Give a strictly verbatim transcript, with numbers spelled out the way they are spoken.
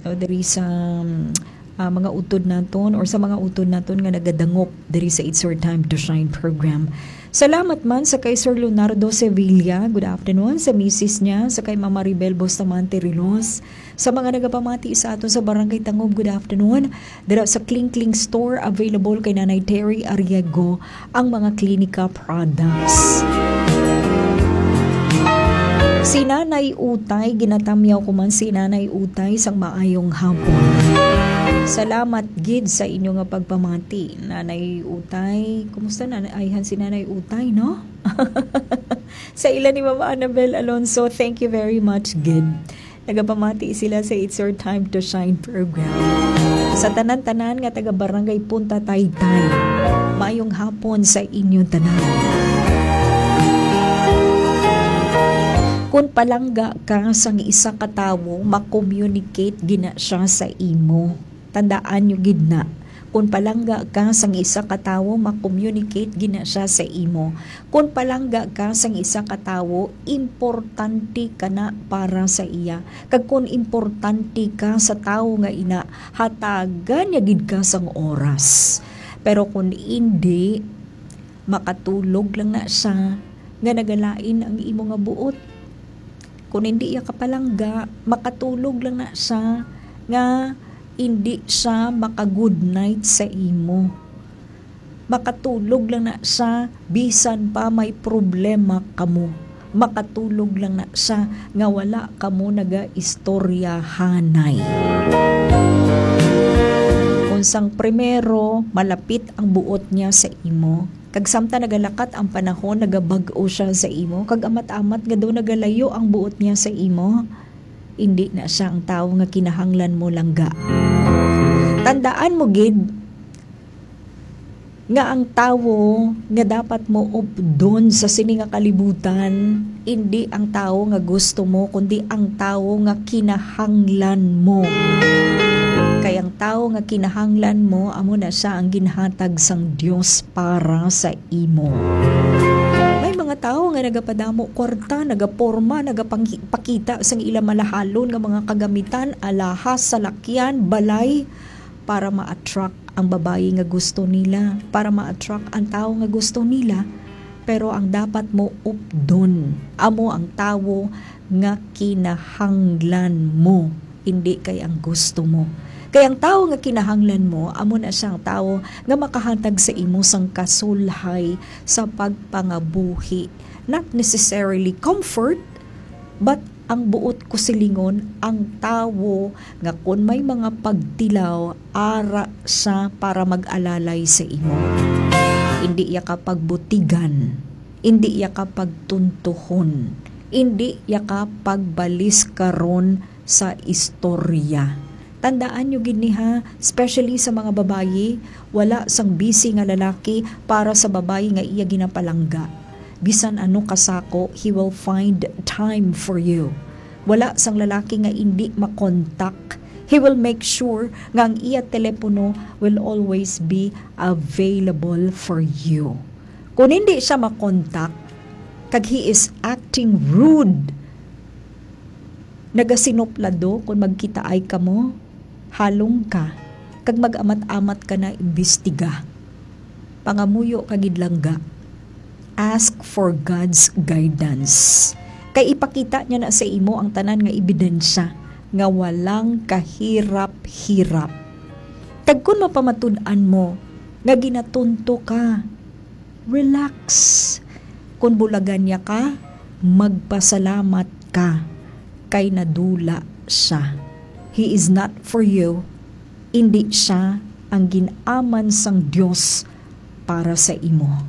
So, diri sa, um, ah, mga utod naton or sa mga utod naton nga nagadangop diri sa It's Your Time to Shine program. Salamat man sa kay Sir Leonardo Sevilla. Good afternoon sa misis niya, sa kay Mama Maribel Bustamante Rilos. Sa mga nagapamati sa aton sa Barangay Tangub, good afternoon. Dira sa Kling Kling Store, available kay Nanay Terry Arriego ang mga Klinika products. Si Nanay Utay, ginatamyaw ko man si Nanay Utay sang maayong hapon. Salamat gid sa inyo nga pagpamati, Nanay Utay. Kumusta na ayhan si Nanay Utay, no? Sa ila ni Mama Annabel Alonso, thank you very much gid. Nagapamati sila sa It's Your Time to Shine program. Sa tanan-tanan nga taga Barangay Punta Taytay, mayong hapon sa inyo tanan. Kung palangga ka sang isa ka tawo, ma-communicate gina siya sa imo. Tandaan nyo gid na, kung palangga ka sang isa ka tawo, ma-communicate gina siya sa imo. Kung palangga ka sang isa ka tawo, importante ka na para sa iya. Kag kung importante ka sa tawo nga ina, hatagan niya gid ka sang oras. Pero kung indi, makatulog lang na siya nga nagalain ang imo nga buot. Kung indi iya ka palangga, makatulog lang na siya nga indi siya maka-good night sa imo. Makatulog lang na siya bisan pa may problema kamo. Makatulog lang na siya nga wala kamo nagaistoryahanay. Kung sang primero, malapit ang buot niya sa imo, kag samtang nagalakat ang panahon, nagabag-o siya sa imo, kag amat-amat nga daw nagalayo ang buot niya sa imo, indi na siya ang tawo nga kinahanglan mo langga. Tandaan mo gid nga ang tawo nga dapat mo updon sa sini nga kalibutan, indi ang tawo nga gusto mo, kundi ang tawo nga kinahanglan mo. Kay ang tawo nga kinahanglan mo, amo na siya ang ginhatag sang Dios para sa imo. May mga tawo nga nagapadamo kwarta, nagaporma, nagapanghi-, pakita sang ila malahalon nga mga kagamitan, alahas, salakyan, balay, para ma-attract ang babayi nga gusto nila, para ma-attract ang tawo nga gusto nila. Pero ang dapat mo updon, amo ang tawo nga kinahanglan mo, indi kay ang gusto mo. Kay ang tawo nga kinahanglan mo, amo na siya ang tawo nga makahatag sa imo sang kasulhay sa pagpangabuhi. Not necessarily comfort, but ang buot ko silingon, ang tawo nga kun may mga pagtilaw, ara siya para mag-alalay sa imo. Indi iya ka pagbutigan, indi iya ka pagtuntuhon, indi iya ka pagbaliskaron sa istorya. Tandaan nyo gid ni ha, especially sa mga babayi, wala sang busy nga lalaki para sa babayi nga iya ginapalangga. Bisan ano kasako, he will find time for you. Wala sang lalaki nga indi makontak. He will make sure nga ang iya telepono will always be available for you. Kung hindi siya makontak, kag he is acting rude, nagasinuplado kung magkitaay kamo, halong ka, kag mag-amat-amat ka na imbestiga. Pangamuyo ka gid langga. Ask for God's guidance. Kay ipakita niya na sa imo ang tanan nga ebidensya nga walang kahirap-hirap. Kag kun mapamatud-an mo nga ginatunto ka, relax. Kun bulagan niya ka, magpasalamat ka kay nadula siya. He is not for you. Indi siya ang gin-aman sang Dios para sa imo.